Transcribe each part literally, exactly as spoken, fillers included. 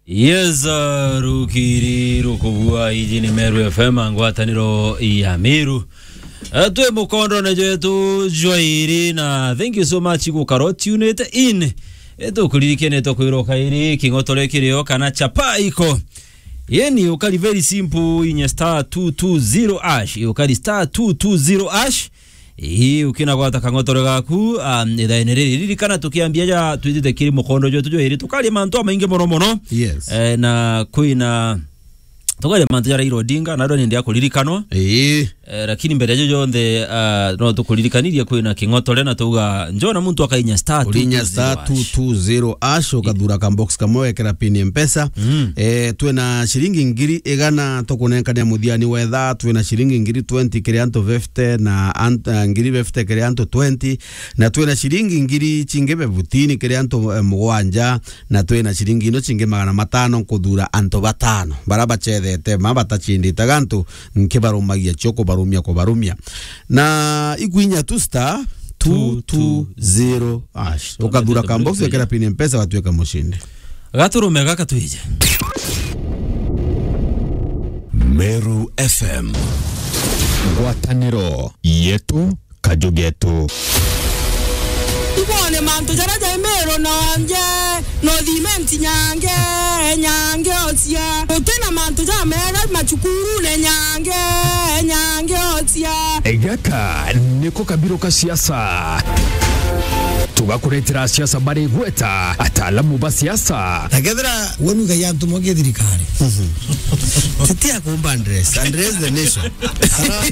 Yes, uh, rukiri rukubua, iji ni Meru F M, ngwataniro ya Meru. Uh, twi mukondone jwetu jwa iri, na thank you so much gukara tuned in. Eh, tukuririkanie tukwirwo kairi king'otore kirio kana chapa iko. Yeni ukari very simple, inye star two two zero hash, ukari star two two zero hash. Ii, ukina gwata kang'otore gaku, um, ithaene riri. Ririkana tukiambia ja twitite kiri mukondo jwetu jwa iri, tukaria mantu amaingi mono mono. Yes. Eh, na kwina, tukaria mantu ja Raila Odinga, na ndo nindi akuririkanwa. Ii. Eh, lakini mbere ya jo jonthe, ah, no tukuririkanirie kwina king'otore na tuga, njona muntu akainya star Urinya two two zero star hash. two two zero hash, ukathura ka box kamwe, wekera pin ya Mpesa. Mm. Eh, twina ciringi ngiri igana tukunenkania muthiani wetha, twina ciringi ngiri twenty kiri antu fifty, na ant-, eh, ngiri fifty kiri antu twenty, na twina ciringi ngiri cingi bebutini kiri antu, eh, mugwanja, na twina ciringi ino cingi magana matano nkuthura antu batano bara bacethete ma batacindite gantu, nkibarumagia cio kubarumia, kubarumia. Na ikwinya tu star two two zero hash. Ukathura ka box, wekera pin ya Mpesa, watuika mucindi. Gaturume gaka twije. Meru F M. Ngwataniro yetu, kaju getu. Ibone mantu jaria jai Meru nonje, no thimenti nyange, nyange ocia. Utina mantu jamega macukurune nyange, nyange ocia. Gaka niko kabiro ka siasa. Tugakuretera siasa bari gweta ataalamu ba siasa. Na kethira we nuga ya antu moke thirikari. Titia kumba address, address the nation. Kana,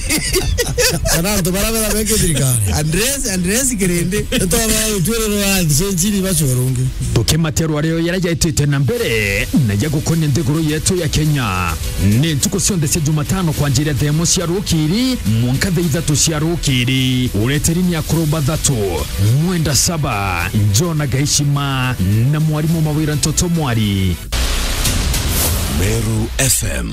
kana antu bara bera beke thirikari. Address, address kirindi. Eto ba utwiriro wa cenjiri bacorungi. Tukimaterwa rio yara jaitite na mbere na ya gukonia nthiguru yetu ya Kenya. Ni ntuku cionthe cia Jumatano kwanjiria thaa imwe cia rukiri mwanka thaa ithatu cia rukiri. Ureteri ni akuru bathatu, Mwenda Saba, Jona Gaishima na mwarimu Mawira Ntoto Mwari. Meru F M.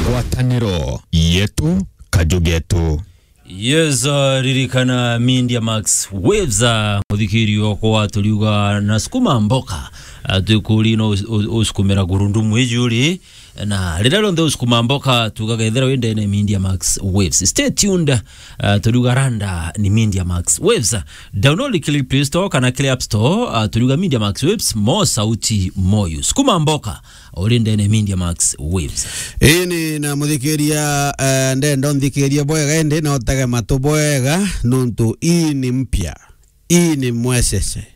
Ngwataniro yetu, kaju getu. Yes, uh, ririkana Media Max Waves, uh, muthikiri okwa turiuga na sukuma mboka, uh, twikuri no us-, u-, usukumira gurundumu iji uri, na riria rionthe usukuma mboka, tugaga ethira wi ndene Media Max Waves. Stay tuned, uh, turiuga randa ni Media Max Waves. Download kiri Play Store kana kiri App Store, uh, turiuga Media Max Waves, mo sauti moyu. Sukuma mboka, uri ndene Media Max Waves. Ini na muthikiria, eh, ndenda unthikirie bwega, indi na utege matu bwega, nuntu ii ni mpya, ii ni mwecece.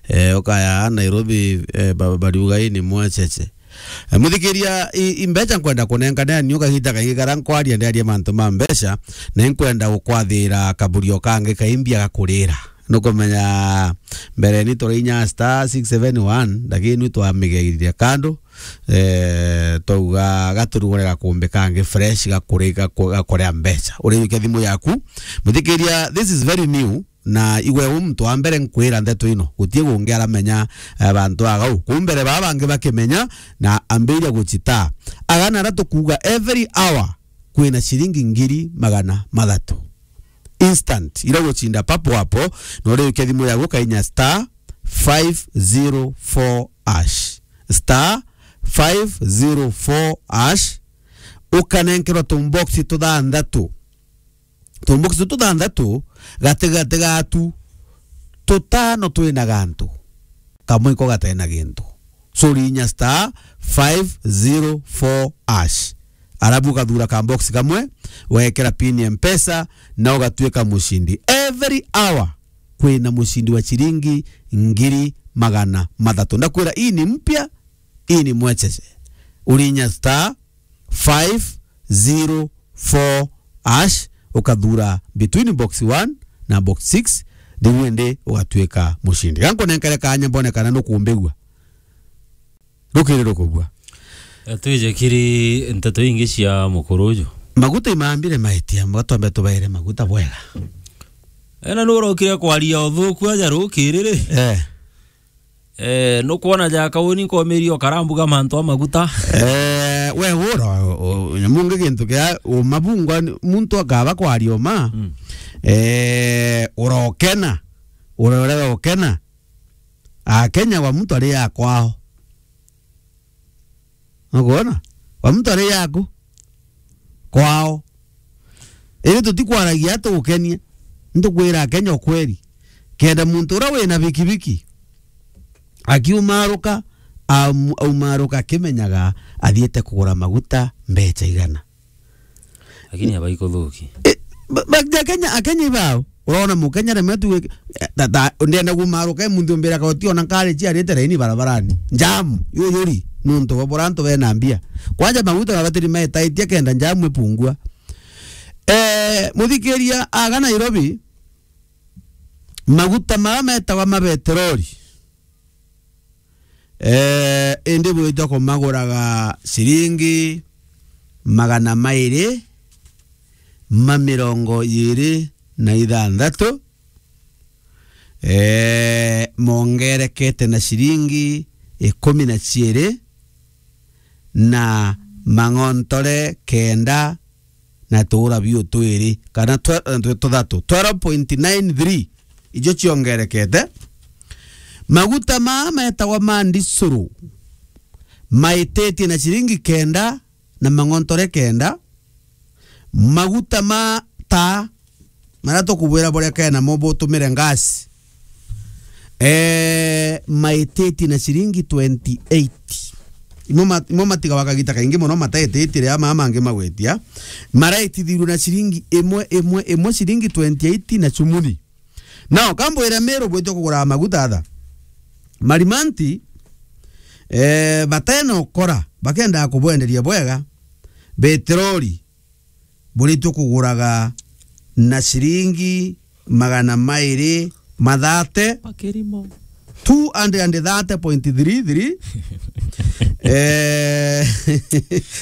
Eh, ukaya Nairobi, eh, ba-, bariuga ii ni mwecece. Eh, muthikiria, i, i mbeca nkwenda kunenkania ni ukagita kaingi kara nkwaria ndiaria mantu ma mbeca, na inkwenda gukwathira kaburio kangi kaimbia gakurira. Nukumenya mbere ni turainya star six seven one, lakini nu twamigeirire kando, eh, twauga gaturugure gakumbi kangi fresh gakuri-, gaku-, gakuria mbeca. Uriukia thimu yaku. Muthikiria, this is very new, na igwe u muntu wa mbere nkwira ndeto ino. Gutie gungi aramenya, eh, bantu agau. Kuu mbere baa bangi bakimenya, na ambiria gucita. Agana ara tukuuga every hour kwina ciringi ngiri magana mathatu. Instant, ira gucinda papo hapo, na uriukia thimu yaku ukainya star five zero four hash. Star five zero four hash, ukanenkerwa tumboksi tuthanthatu. Tumboksi tuthanthatu, gatigati gatu tutano twina gantu. Kamwe iko gatena gintu. So, urinya star five zero four hash. Arabu ukathura ka box kamwe, wekera pin ya Mpesa, na ugatuika mucindi. Every hour, kwina mucindi wa ciringi ngiri magana mathatu. Ndakwira, ii ni mpya, ii ni mwecece. Urinya star five zero four hash, ukathura between box one na box six, riu indi ugatuika mucindi. Gankunenkere kanya mbone kana nukumbigua. Rukiri rukubua. Twije kiri nteto ingi cia mukuru uju. Maguta imambire maitia, mbaga twambe tubaire maguta bwega. Ena nurokire kwaria uthuku aja rukiri ri? Eh. Eh, nukwona jaka uni nkomeria ukarambuga mantu a maguta? Eh, we ura, u-, u-, nyamu ngi gintu kia uma bungwa ni, muntu akaba kwaria uma. Mm. Eh, urokena. Urorega ukena. Akenya wa muntu ari ya kwao. Nukwona? Wa muntu ari yaku. Kwao. Iri tutikwaragia tugukenia. Ntukwira Akenya ukweri. Kenda muntu uria wina bikibiki akiumaruka, am-, aumaruka akimenyaga athiite kugura maguta mbecha igana. Lakini abaikuthuki. E, ba-, ba-, Akenya, Akenya ibao. Urona Mukenya rimwe tu, eh, ta, ta, ndienda kumaruka, muntu mbira koti ona nkari ciarite raini barabarani. Jam, yuyuri, nuntu bwa bura antu bena mbia. Kwanja maguta mabatiri maetaitie kenda jam ipungua. Eh, muthikiria aga Nairobi, maguta mara metagwa ma beteroli. Eh, indi bwitwa kumaguraga ciringi magana mairi ma mirongo iiri na ithanthatu. Eh, mongerekete na ciringi ikumi na ciiri na mang'ontore kenda na tuura biu twiri, kana twe-, twe-, tuthatu, twelve point nine three, ijo ciongerekete. Maguta maa metagwa ma ndisuru, maititie na ciringi kenda na mang'ontore kenda. Maguta ma taa, maria tukubwira burekane namo butumire ngasi, eh, maititie na ciringi twenty eight. Imo ma-, imo matigawa kagita kaingi mono mataititie riria maa mangi magwetia. Maraitithirue na ciringi imwe, imwe, imwe, ciringi twenty eight na chumuni. Nao, kambwire Meru bwitwe kugura maguta atha. Marimanti, eh, batena ukora, bakendaa kubwenderia bwega, beteroli, buritwe kuguraga na ciringi magana mairi ma thate. Makirimo. Two hundred and thirty point three three. Eh,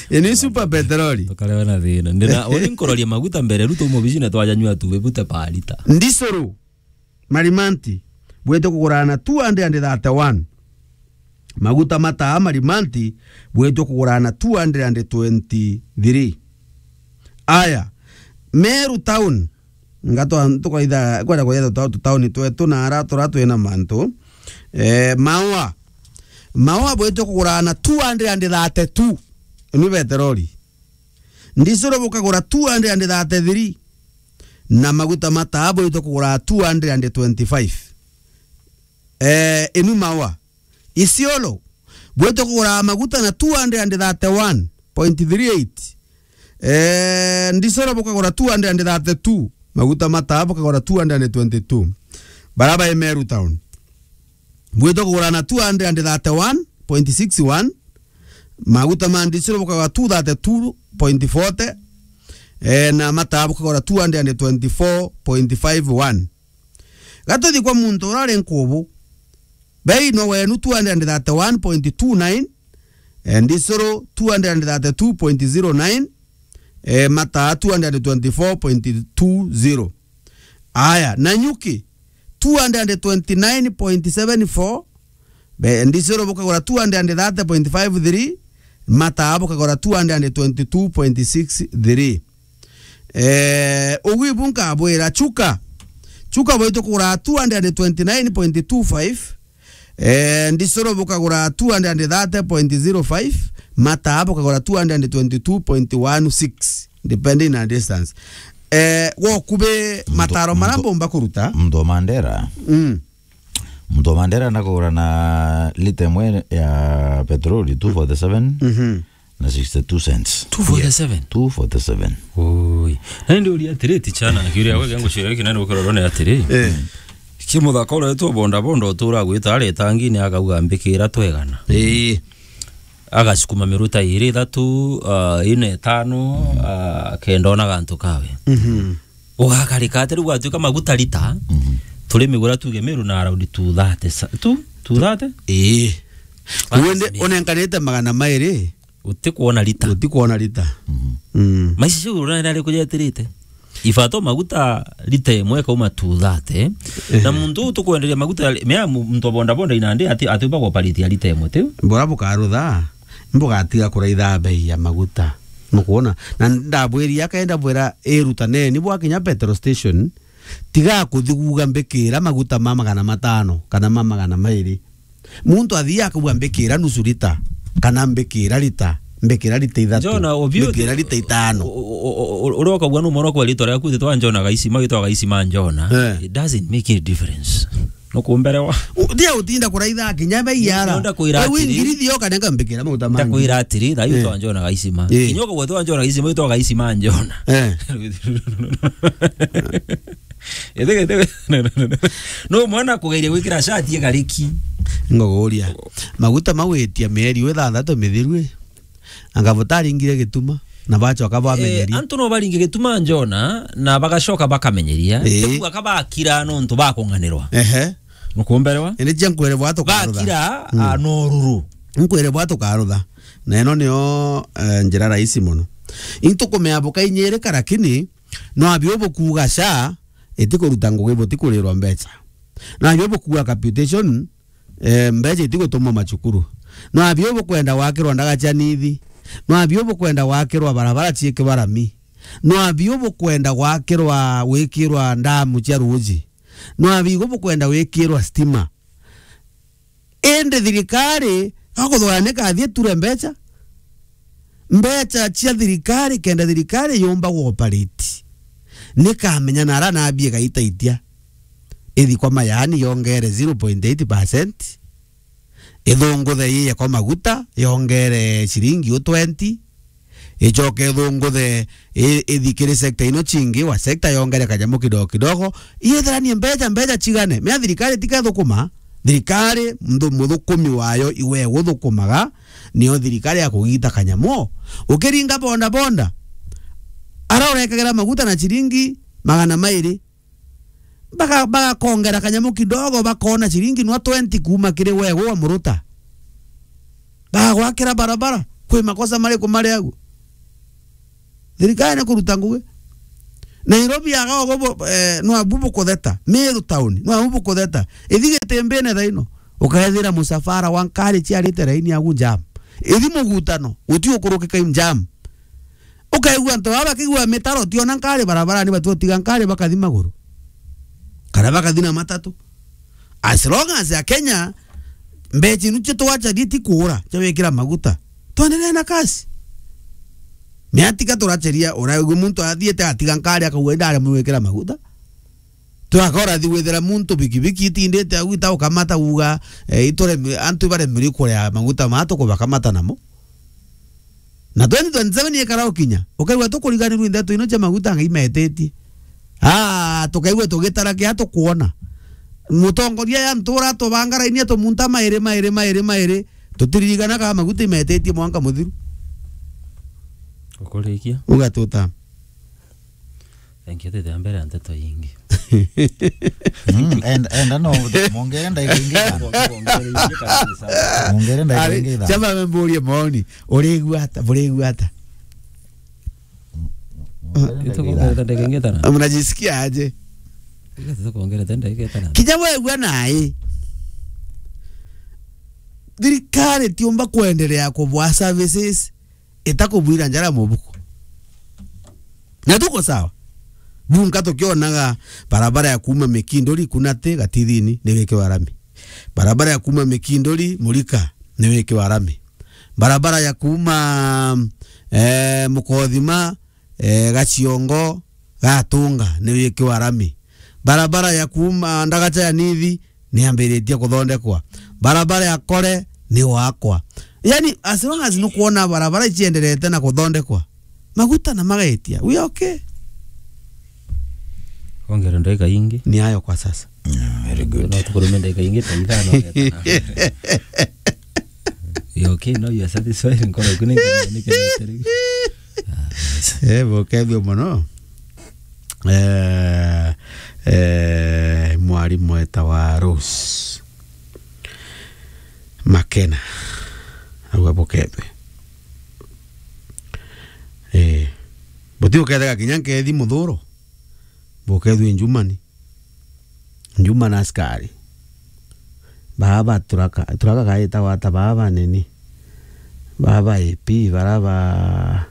ini super petroli. Tukarewa na thina. Ndina, uni nkuroria maguta mbere, ruto mubici na twajanyua tu, bibute pa lita. Ndisuru, Marimanti, bwitwe kugurana two hundred and thirty-one. Maguta mataa Marimanti, bwitwe kugurana two hundred and twenty-three. Aya, Meru town, ngatwa-, tukaitha, kwenda kwenda tuta-, tutauni twetu na ara tura twina mantu. Eh, Maua. Maua bwitwe kugurana two hundred and thirty-two. Ni beteroli. Ndisuru bukagura two hundred and thirty-three. Na maguta mataa bwitwe kugura two hundred and twenty-five. Eh, ini Maua. Isiolo, bwitwe kugura maguta na two hundred and thirty-one point three eight. Eh, Ndisoro bukagura two hundred and thirty-two, maguta mataa bukagura two hundred and twenty-two. Baraba e Meru town, bwitwe kugura na two hundred and thirty-one point six one, maguta ma Ndisoro bukagura two thirty-two point forty, eh, na mataa bukagura two hundred and twenty-four point five one. Gatuthi kwa muntu uria ari nkubu, bei no wenu two hundred and thirty-one point two nine, eh, Ndisuru two hundred and thirty-two point zero nine, eh, mataa two hundred and twenty-four point two zero. Aya, Nanyuki two hundred and twenty-nine point seven four, be, Ndisuru bukagura two hundred and thirty point five three, mataa bukagura two hundred and twenty-two point six three. Eh, ugu ibu nkabwira, Chuka. Chuka bwitwe kugura two hundred and twenty-nine point two five. Eh, Ndisoro bukagura two hundred and thirty point zero five. Mataa bukagura two hundred and twenty-two point one six, depending on distance. Eh, gwokubi mataro mara mbomba kuruta. Mtu wa Mandera. Mm. Mtu wa Mandera nakugura na lita imwe ya petroli, two forty-seven. Mhm. Na sixty-two cents. Two forty-seven? Two forty-seven. Oi. Na ndio uri atiri, tichana, kiuria wega ngucira hiki nani ukirorwo ni atiri. Eh. Ki muthaka uria tu bonda bonda utura gwita ari tangini akauga mbikira twegana. Eh. Agacukuma miruta iri, ithatu, ah, ine, itano, ah, kenda ona gantu kawe. Mhm. Ugakarika ati riu gwatuika maguta lita, mhm, turi migura tuge Meru na around two thirty sa-, tu, two thirty? Ii. Basi. Wende ni unenkanite magana mairi. Utikwona lita. Utikwona lita. Mhm. Mm. Maisha ciu urona ari kujetirite. Ibato maguta lita imwe ikauma two thirty. Eh. Na muntu uyu tukwenderia maguta, mea mu-, muntu wa boda boda inandi ati, ati uba goparitia lita imwe tiu. Bora bukarutha. Mbugatiga kuraitha bei ya maguta. Nukwona? Na ndabwiria, kaenda bwira, irutaneni bwakinya petrol station, tiga kuthi kuuga mbikira maguta ma magana matano kana ma magana mairi. Muntu athii akauga mbikira nusu lita, kana mbikira lita. Mbikira rita ithatu. Njona, obiu, mbikira rita itano. U-, u-, u-, u-, uria ukauga numwona kwa ritwa riaku, ritwa Njona Gaisima, ritwa Gaisima Njona. Eh. It doesn't make any difference. Nukumberewa. U-, ndia utinda kuraitha kinya bei yara. Nda kwira atiri. Ngiri thio kana ngambikira mauta mangi. Ndakwira atiri, thaa ii, eh, ritwa Njona Gaisima. Eh. Kinya ukauga ritwa Njona Gaisima, ritwa Gaisima Njona. Eh. Ithige, ithige. No mwana kugeria gwikira shati igariki. Ngoguria. Maguta mau itia mieri ithanthatu mithiru i. Anga butaringire gituma, na bacoka bamenyeria. Eh, antu no baringe gituma Njona, na bagacoka bakamenyeria. Eh. Riu aka bakira nontu bakung'anirwa. Ehe. Nukumberewa? Indi cia nkwere bwa tukarutha. Bakira, mm, a, no ruru. Nkwere bwa tukarutha. Na ino nio, eh, njira rahisi mono. Intu kumea bukainyirika, lakini no abi ubukuga sha, itikuruta ngugi, butikurirwa mbeca. No abi ubukuga capitation, eh, mbeca itigutumwa macukuru. No abi ubukwenda gwakirwa ndaga cia nithi. No abi ubukwenda gwakirwa barabara ciikirwa rami. No abi ubukwenda gwakirwa, gwikirwa ndamu cia ruuji. No abi ubukwenda gwikirwa stima. Indi thirikari, gakuthugana ni kathie ture mbeca. Mbeca cia thirikari, kenda thirikari yumba guoperate, ni kamenya na ara nabi igaitaitia. Ithi kwa mayaani yongere zero point eight percent. Ithunguthe iye kwa maguta yongere ciringi u twenty. Icoke ithunguthe i-, ithi kiri sector ino cingi, wa sector yongere kanyamu kidogo kidogo. Iyetheranie mbeca, mbeca cigane. Mea thirikari tikethukuma. Thirikari, mthu-, muthukumi wayo iwe guthukumaga, nio thirikari ya kugita kanyamu. Ukiringa bonda bonda, ara urekagira maguta na ciringi magana mairi, baka-, bagakongera kanyamu kidogo, bakona ciringi nwa twenty kuuma kiri wewe wa muruta. Bagwakira barabara, kwi makosa mariku mari agu? Thirikari ni kuruta ngugi. Nairobi aga ugu bu-, eh, nwabu bukutheta. Meru town, nwabu bukutheta. Ithi Gitimbine thaino, ukaethira musafara wa nkari ciarite raini agu jam. Ithi Mugutano, guti ukurukika i jam. Ukaigua antu baba bakigua mitaro, tiona nkari barabarani, batigotiga nkari bakathi maguru. Kana bakathi na matatu. As long as a Kenya, mbeca inu cia twacharia ti kuura, cia gwikira maguta, twendelee na kazi. Ni atika turacharia, uraigua muntu athiite atiga nkari akauga, "Indaremwe gwikira maguta." Twakora thi gwithira muntu bikibiki itindite au itaukamata uga, eh, itureme-, antu ibaremire kuria maguta maa tukubakamata namo. Na twenty twenty-seven ikara ukinya, ukaigua tukuriganirua ndeto ino cia maguta Ngai metetie. Ah, tukaigua tugitara kia tukwona. Mutongoria ya ntura tubanga raini atumunta mairi, mairi, mairi, mairi. Tutiririkana ka maguta imetetie mwanka muthiru. Ukurikia. Ugatuta. Thank you, tete mbere ya nteto ingi. Mm, enda, enda no, mwongere ndagika ingi ithano. Mwongere ndagika ingi ithano. Chama amemburia maoni. Urigua ata? Burigua ata? Mwongere ndagika ithano. Itukuongerera ndagika ingi ithano. Mnajisikia aje? Itukuongerera ndagika ithano. Kinya wegua nai. Thirikari tiumba kuendelea kubwa services itakubwira njara mubuko. Na tuko sawa. Bunka tukionaga barabara ya kuuma Mikinduri Kunate Gatithini ni wikirwa rami. Barabara ya kuuma Mikinduri Murika ni wikirwa rami. Barabara ya kuuma, eh, Mukothima, eh, Gaciongo, Gatunga ni wikirwa rami. Barabara ya kuuma Ndagacha ya Nithi ni ambiritie kuthondekwa. Barabara ya Kore ni gwakwa. Yani, as long as nukwona barabara icienderete na kuthondekwa, maguta na magaitia, we are okay. Ongera ndagika ingi. Ni ayo kwa sasa. Mm, very good. No tukurume ndagika ingi ta ithano. You okay? No, you are satisfied? Nkoro yaku ni, ni, ni, ni, eh, bukethio muno. Eh, eh, mwarimu wetawa Rose Makena. Au abukethwe. Eh, buti ukethega kinya nkethi muthuro. Bukethwe njumani. Njuma na askari. Baba turaka, turaka kaita wata baba nini. Baba A P, bara ba,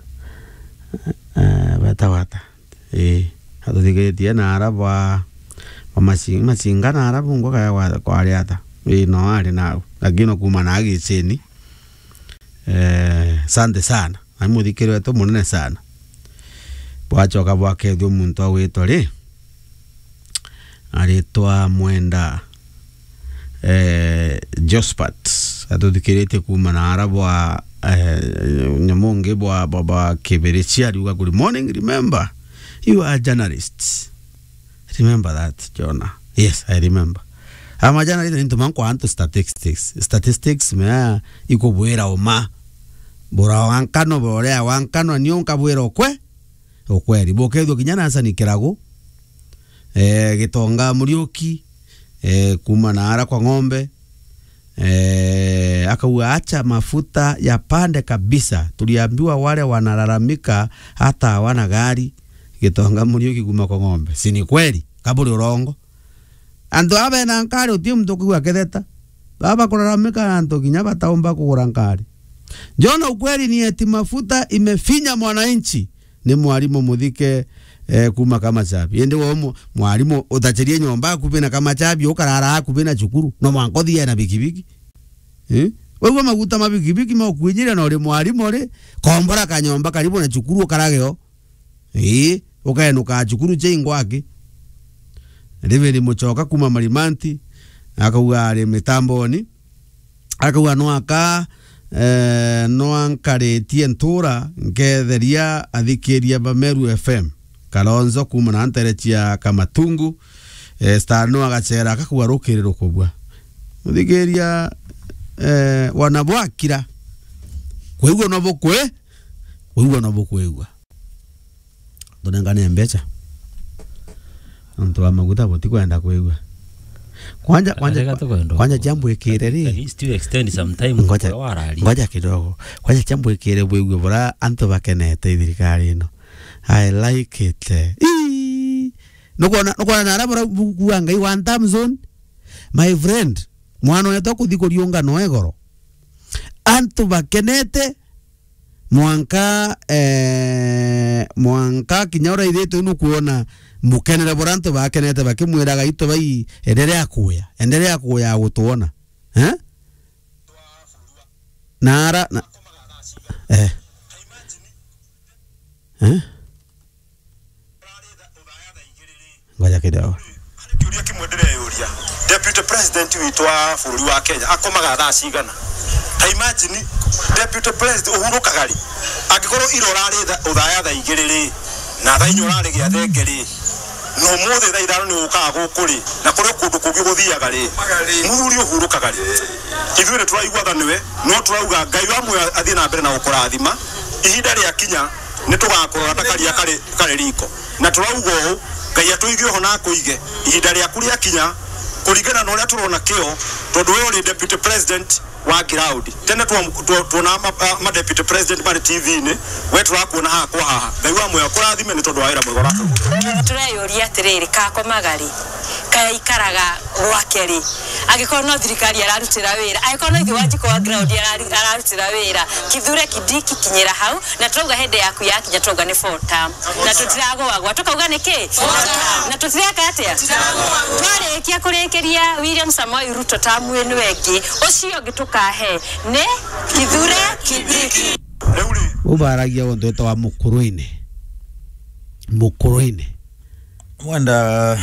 eh, bata wata. Eh, atuthikitie na ara ba, ba maci-, macinga na ara bungwa kaya kwa, kwari ata. Eh, no ari nau. Lakini no kuma na agicini. Eh, Asante sana. Ai muthikiri wetu munene sana. Bwachoka bwakethua muntu agwitwa ri? Aritwa Mwenda, eh, Jospat. Atuthikiritie kuuma na ara bwa, eh, nyamu ungi bwa, bwa, bwa Kibirichi, ariuga, "Good morning, remember, you are journalists." Remember that, Jonah. Yes, I remember. Ama journalist ni ntuma nkwa antu statistics. Statistics mea ikubwira uma. Bura wa nkano, borea wa nkano, ni unkabwira ukwe. Ukweri. Bukethua kinya na Hassan Kiragu. Eh, Gitonga Muriuki. Eh, kuuma na ara kwa ng'ombe. Eh, akauga, "Acha mafuta yapande kabisa. Tuliambiwa wale wanalalamika hata hawana gari." Gitonga Muriuki kuuma kwa ng'ombe. Si ni kweli? Kaburi urongo. Antu aba bena nkari uti muntu ukigua ketheta. Baba kulalamika na antu kinya bataumba kugura nkari. Jona, ukweli ni eti mafuta imefinya mwananchi. Ni mwarimu muthike, eh, kuuma Kamachabi. Indi we mu-, mwarimu utachirie nyomba akubi na Kamachabi, ukarara akubi na cukuru. No mwanka uthie na bikibiki. Eh? Waigua maguta ma bikibiki maukwinyiria na uri mwarimu ri, kombora kanyomba karibu na cukuru ukarageo. Ii, ukaenuka cukuru cia ingwaki. David Muchoka kuuma Marimanti, akauga ari mitamboni. Akauga, "Nwaka, eh, nwankaritie ntura, nketheria athikiria ba Meru F M." Kalonzo kuuma na ntere cia Kamatungu, eh, Star no agacera, akakua rukiri rukubua. Muthikiria, eh, wana bwakira. Kwigua no bukwe, kwigua no bukwigua. Tunengane mbecha. Antu ba maguta butikwenda kwigua. Kwanja, kwanja, Arega tukwenda kwanja kwigua. Chambwikire ri. At least you extend some time Ngoja, kwa warari. Ngoja kidogo. Kwanja chambwikire bwigue bura antu bakenete thirikari ino. I like it. Ii. Nukwona, nukwona na ara bura bu-, bua Ngai one time zone. My friend, mwana wetu akuthi kuriunga no igoro. Antu bakenete, mwanka, eh, mwanka kinya uraithitwe nukwona mukenere bura antu bakenete bakimwiraga, "Itu bai, endelea kuya, endelea kuya gutwona." Eh? Na ara, na, eh. Eh? Ngoja kidogo. Kiuria kimwe ndireyuria. Deputy President witũ wa bũrũri wa Kenya akomaga thaa cigana? Ta imagine, Deputy President, ũhurũkaga rĩ? Angĩkorwo ira ũrarĩ tha-, ũthaya thaa igĩrĩ rĩ, na thaa inya ũrarĩ gĩathenge rĩ, na ũmũthĩ thaa ithano nĩ ũkaga gũkũ rĩ, na kũrĩ kũndũ kũngĩ gũthiaga rĩ, mũthuri ũhurũkaga rĩ? Ithuĩ nĩ tũraigua tha nĩwe, no tũrauga Ngai wa muoyo athiĩ na mbere na gũkũrathima. Ihinda rĩakinya, nĩ tũgakũrora ta karia karĩ, karĩ riko. Na tũrauga ũũ, Ngai atũige oho na akũige. Ihinda rĩaku rĩakinya, kũringana na ũrĩa tũrona kĩo, tondũ we ũrĩ deputy president wa ground. Tene twa-, twa-, tuonaga ma-, a-, ma deputy president marĩ T V-inĩ, we tũrakuona haha kwa haha. Ngai wa muoyo akũrathime nĩ tondũ wa wĩra mwega ũratũruta. Tũreyũria atĩrĩrĩ, kakomaga rĩ? Kaikaraga gwake rĩ? Angĩkorwo no thirikari ararutĩra wĩra, angĩkorwo no ithe wa Njiko wa ground arari-, ararutĩra wĩra, Kithure Kindiki kinyĩra hau, na twauga hĩndĩ yaku yakinya, twauga nĩ four term. Na tũtiragũagwa, tũkauga nĩ kĩ? Na tũtireka atĩa? Twarĩkia kũrĩkĩria William Samoei Ruto term ĩno ĩngĩ, ũcio ũngĩ tũkahe nĩ Kithure Kindiki. Ubaragia ũndũ wetagwa mũkũrũ-inĩ. Mũkũrũ-inĩ. Mwenda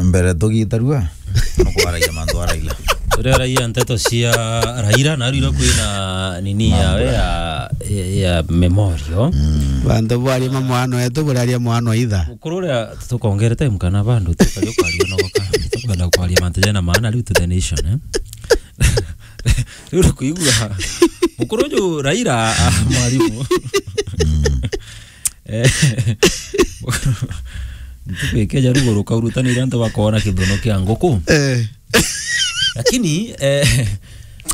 mbere tugitarua, nukwaragia mantu a Raila. Turiaragia nteto cia Raila, na rira kwina nini yawe ya, ya, ya memorial. Bantu bwaria mamwano etu buraria mwano itha. Mukuru uria tukongere time kana bandu tukari ukaria no goka. Tukwenda kwaria mantu jena maana riu to the nation, eh? Riu kuigua. Mukuru uju Raila, ah, mwarimu. Eh, ntuku ikeja ruguru kaurutanire antu bakona kithono kia nguku. Eh. Lakini, eh,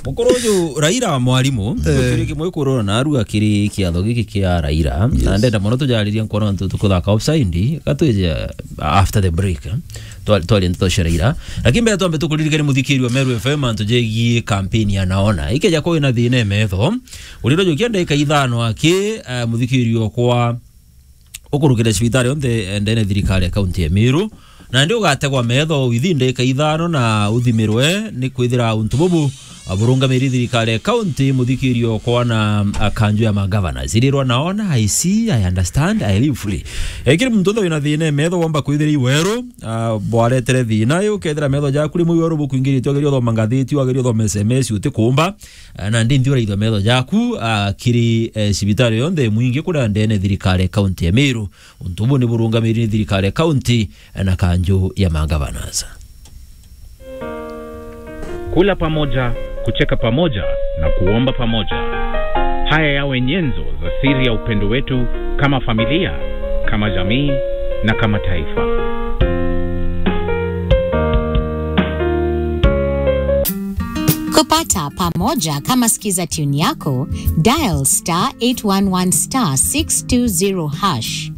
mukuru uju Raila mwarimu, eh, gutiri kimwe kurora na aru akiri kiatho giki kia Raila. Yes. Na ndenda mono tujaririe nkwona antu tukuthaka offside, gatwije after the break, eh. Twa-, twaria nteto cia Raila. Lakini mbere twambe tukuririkanie muthikiri wa Meru F M antu jegie campaign ya Naona. Ikeja kwa wina thina e metho, uriro jukia ndagika ithano aki, eh, muthikiri okwa ukurukire cibitari onthe, eh, ndene thirikari ya kaunti ya Meru. Na ndi ugategwa metho within ndagika ithano na uthimirwe ni kwithira untu bubu, Aburungamiri thirikari ya county, muthikirio kwana akanju ya magavana. Zirirwa naona, I see, I understand, I live free. Ekiri muntu nthe wina thina metho womba kwithiria iweru, ah, bwaretere thina yu, kethira metho jaku rimwe iweru bukwingirite, wageria uthoma ngathiti, wageria uthoma S M S, utikumba, ah, na ndi nthi uraithwa metho jaku, ah, kiri, eh, cibitari yonthe mwingi kuria ndene thirikari ya county ya Meru. Untu bu ni burungamiri ni thirikari ya county na kanju ya magavanas. Kula pamoja, kucheka pamoja na kuomba pamoja. Haya yawe nyenzo za siri ya upendo wetu kama familia, kama jamii na kama taifa. Kupata pamoja kama skiza tune yako, dial star eight one one star six two zero hash.